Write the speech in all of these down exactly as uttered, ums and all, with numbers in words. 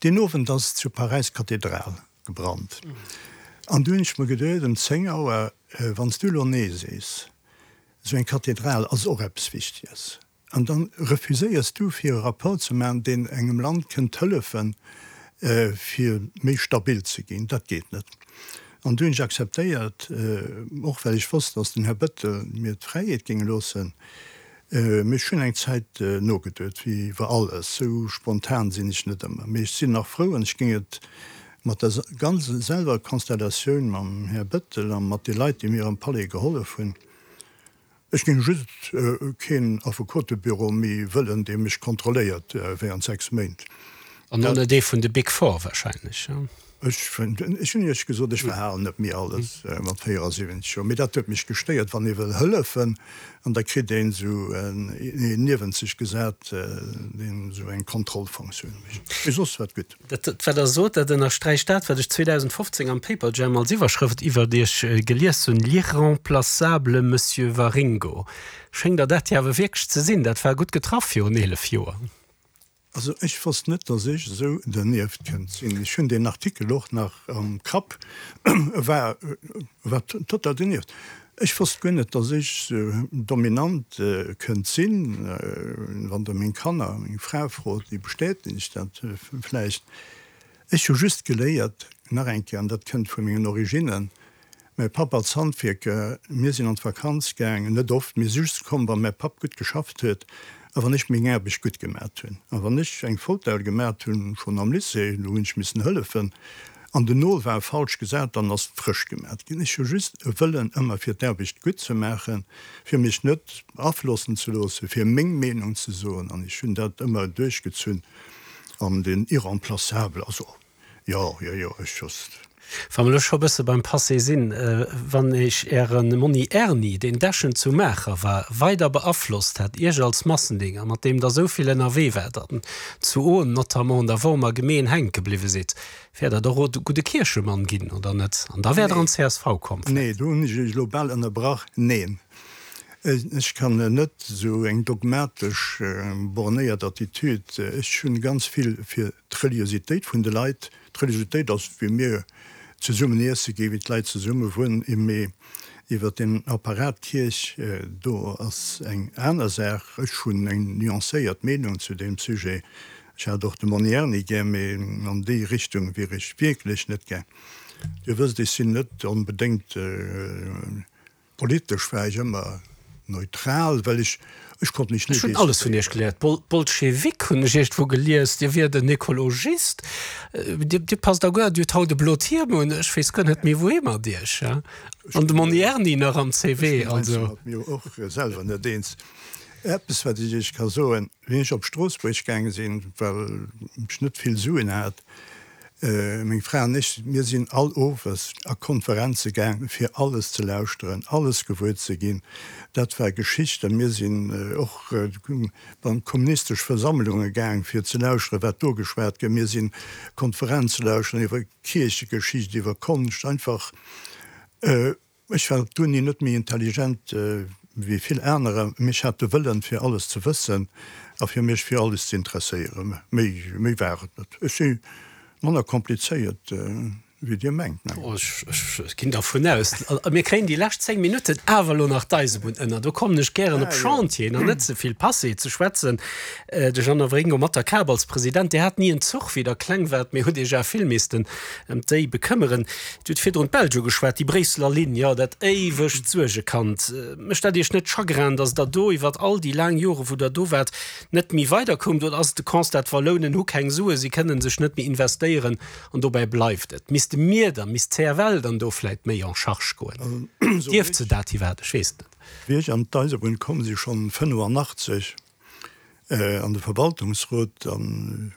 Deen Owend ass zu Paräis d'Kathedral gebrannt. An du hunn ech mer geduet, ëm zéng Auer, wann s du elo Nee sees, esou eng Kathedral ass och eppes Wichteges, an da refuséiers du fir e Rapport ze maachen, deen engem Land kënnt hëllefen, fir méi stabil ze ginn, dat geet net. An du hunn ech akzeptéiert, och well ech wosst, datt den Här Bettel mir d'Fräiheet géing loossen. Mee ech hunn eng Zäit nogeduet, wéi iwwer alles. Sou spontan sinn ech net ëmmer. Mee ech sinn nach frou an ech géing et mat der ganz selwer Konstellatioun mam Här Bettel a mat de Leit, déi mir am Palais gehollef hunn, Ech géing just keen Affekotebüro méi wëllen, dee mech kontrolléiert während sechs Méint. An och net ee vun de Big Four wahrscheinlech, jo? Ech hunn Iech gesot, ech verhalen net méi alles mat véierasiwwenzeg Joer. Mee dat huet mech gestéiert, wann ee wëll hëllefen an da kritt een esou een niewent sech gesat, deen esou eng Kontrollfunktioun mécht. Mee soss war et gutt. Dat, wat Der sot, dat ënnersträicht dat, wat ech zweedausendfofzéng am Paperjam als Iwwerschrëft iwwert Iech gelies hunn, L'irremplaçable Monsieur Waringo. Schéngt Der dat jo awer wierklech ze sinn. Dat war gutt getraff virun eelef Joer. Also ech wosst net, datt ech esou dernieft kënnt sinn. Ech hunn deen Artikel och nach am Kapp, e war, e war total dernieft. Ech wosst guer net, datt ech esou dominant kënnt sinn. Wann Der meng Kanner, meng Fra frot, déi bestätegt dat vläicht. Ech hu just geléiert, nach eng Kéier, an dat kënnt vu mengen Originnen, Mäi Papp als Handwierker, mir sinn an d'Vakanz gaangen, net oft, mee just komm, wa mäi Papp gutt geschafft huet a wann ech meng Aarbecht gutt gemat hunn. A wann ech eng Fautelle gemat hunn, schonn am Lycée, do hunn ech missen hëllefen, an den Nol war falsch gesat, dann ass frësch gemat ginn. Ech hu just e Wëllen ëmmer fir d'Aarbecht gutt ze maachen, fir mech net beaflossen ze loossen, fir meng Meenung ze soen, an ech hunn dat ëmmer duerchgezunn. An den Irremplaçable, also jo, jo, jo, ech just. Wa mer elo scho bësse beim Passé sinn, wann Iech Äre Monni Erni, deen Dechen zu Maacher war, weider beaflosst hätt, Iech als Massendinger, mat deem Der esou vill ënnerwee waart an zu Ohn notamment an der Wormer Gemeen hänke bliwwe sidd, wäert Der och e gudde Kierchemann ginn, oder net? An da wäert Der an d'C S V komm Nee, vläicht? do hunn ech Iech elo bal ënnerbrach. Neen, ech kann net esou eng dogmatesch bornéiert Attitüd. Ech hunn ganz vill fir d'Reliositéit vun de Leit. D'Religioutéit ass, wéi mir zesummen iesse ginn, wéi d'Leit zesumme wunnen, mee iwwer den Apparat Kierch, do ass eng aner Saach. Ech hunn eng nuancéiert Meenung zu deem Sujet. Ech hat och de Monni Erni gär, mee an déi Richtung wier ech wierklech net gaang. Dir wësst, ech sinn net onbedéngt. Politesch war ech ëmmer neutral, well ech, ech konnt mech Ech net hunn alles vun Iech decidéieren. geléiert. Bol, Bolschewik hunn ech iergendwou gelies, Dir wiert en Ekologist. Dir, Dir passt a guer, Dir hutt haut e blot Hiem un, ech weess guer net méi wouhi mat Iech. Ech An de ginn, Monni Erni nach am ech C V, ginn heiansdo also. mat mir och selwer net eens. Eppes wat ech Iech ka soen, Wéi ech op Stroossbuerg gaange sinn, well ech net vill Suen hat, Meng Fra an ech, mir sinn all Owes a Konferenze gaang, fir alles ze lauschteren, alles gewuer ze ginn. Dat war Geschicht. A mir sinn och an kommunistesch Versammlunge gaang, fir ze lauschteren, wat do geschwat gëtt. Mir sinn Konferenze lauschteren iwwer Kierchegeschicht, iwwer Konscht, einfach. Ech war op d'Uni net méi intelligent wéi vill anerer, mee ech hat de Wëllen, fir alles ze wëssen a fir mech fir alles ze interesséieren. Méi, méi war et net. Ech si manner komplizéiert, wéi Dir mengt, mengen Oh, ech, ech ginn dervun aus. Mir kréien déi lescht zéng Minutten awer elo nach d'Eisebunn ënner. Do kommen ech gären op Ah, jo. Chantieren an net ze vill Passé ze schwätzen. De Jeannot Waringo mat der Kap als President, Dir hat ni en Zuch, wéi Der kleng waart, mee hutt Iech awer vill missten ëm déi bekëmmeren. Dir hutt virdrun d'Belsch ugeschwat, déi Bréisseler Linn, jo, dat éiwegt Suergekand. Mécht dat Iech net Chagrin, datt Der do iwwert all déi laang Jore wou Der do waart, net méi weiderkoumt? Oder ass et de Constat, d'Wallounen hu keng Sue, si kënnen sech net méi investéieren an dobäi bleift et? Misste mir dann, misst d'C F L dann do vläit méi en charge goen? Dierft se dat iwwerhaapt? Ech weess et net. Wéi ech an d'Eisebunn komm si schonn fënnefannachtzeg an de Verwaltungsrot, an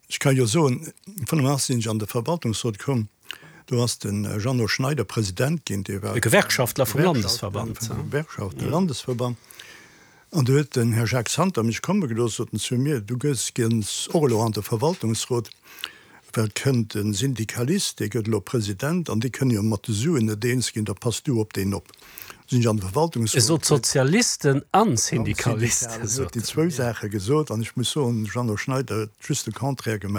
ech ka jo soen, fënnefannachtzeg sinn ech an de Verwaltungsrot komm, do ass de Jeannot Schneider President ginn, dee war E Gewerkschaftler vum Gewerkschaftler Landesverband. vum Gewerkschaftelandesverband. An do huet den Här Jacques Santer mech komme gelooss, sot en zu mir, du gëss gens och elo an de Verwaltungsrot, well et kënnt e Syndikalist, dee gëtt elo President, an déi kënne jo mat de Suen net eens ginn, da pass du op deen op. Sinn ech an de E Verwaltungsrot sot komm. Sozialisten an An Syndikalisten, Syndikalen, huet sot déi en, zwou jo. Saache gesot, an ech muss soen, de Jeannot Schneider huet just de Contraire gemaach.